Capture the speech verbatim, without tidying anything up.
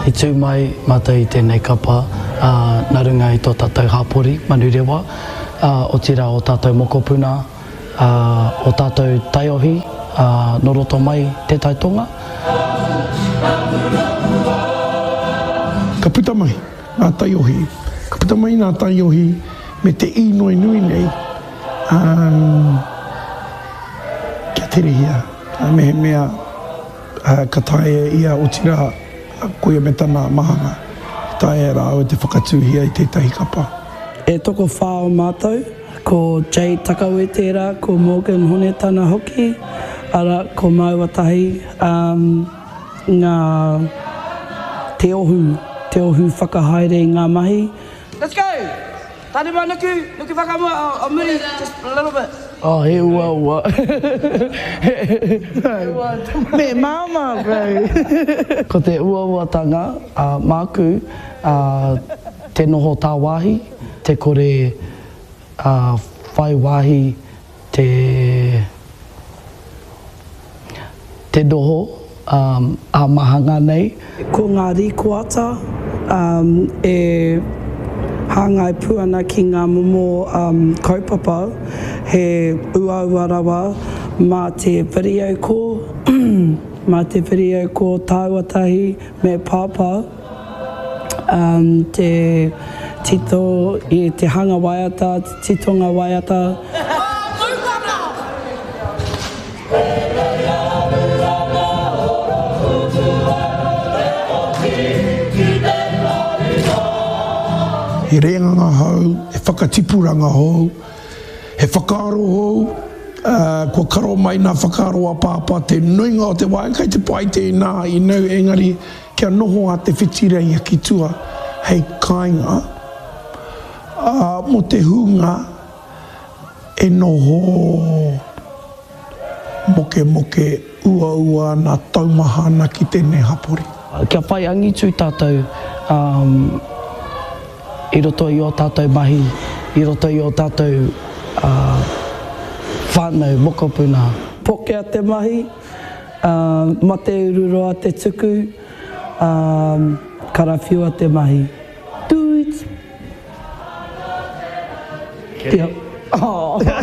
I tū mai mātou i tēnei kapa nā runga i tō tātou hapori, Manurewa, otirā o tātou mokopuna, o tātou taiohi nō roto mai Te Tai Tonga. Ka puta mai ngā taiohi, ka puta mai ngā taiohi me te īnoi nui nei, kia terehia, mehemea ka taea ia, otirā, koia me tana mahanga, e taea e rāua te whakatūhia i tētahi kapa. E tokowhā o mātou, ko Jade Takawe tērā, ko Morgan Honetana hoki, arā, ko māua tahi, ngā, te ohu, te ohu whakahaere i ngā mahi. Let's go! Tanima nuku, nuku whakamua, o muri, just a little bit. Oh, he uaua. Me māmā, bro. Ko te uauatanga, māku, te noho tāwāhi, te kore whai wāhi te te noho ā-mahanga nei. Ko ngā rīkoata e hāngai pū ana ki ngā momo kaupapa, he uaua rawa mā te video call, mā te video call tāua tahi me Pāpā te tito i te hanga waiata, te titonga waiata. He rēnganga hou, he whakatipuranga hou, he whakaaro hou, ā, kua karo mai nā whakaaro a Pāpā te nuinga o te wā, kei te pai tēnā, you know, engari kia noho a Te Whitireia ki tua hei kāinga, ā, mō te hunga e noho mokemoke uaua ana, taumaha ana ki tēnei hapori. Kia whai angitu tātou i roto i ō tātou mahi, i roto i ō tātou whānau, mokopuna. Pokea te mahi, mate ururoa te tuku, karawhiua te mahi. Tūit!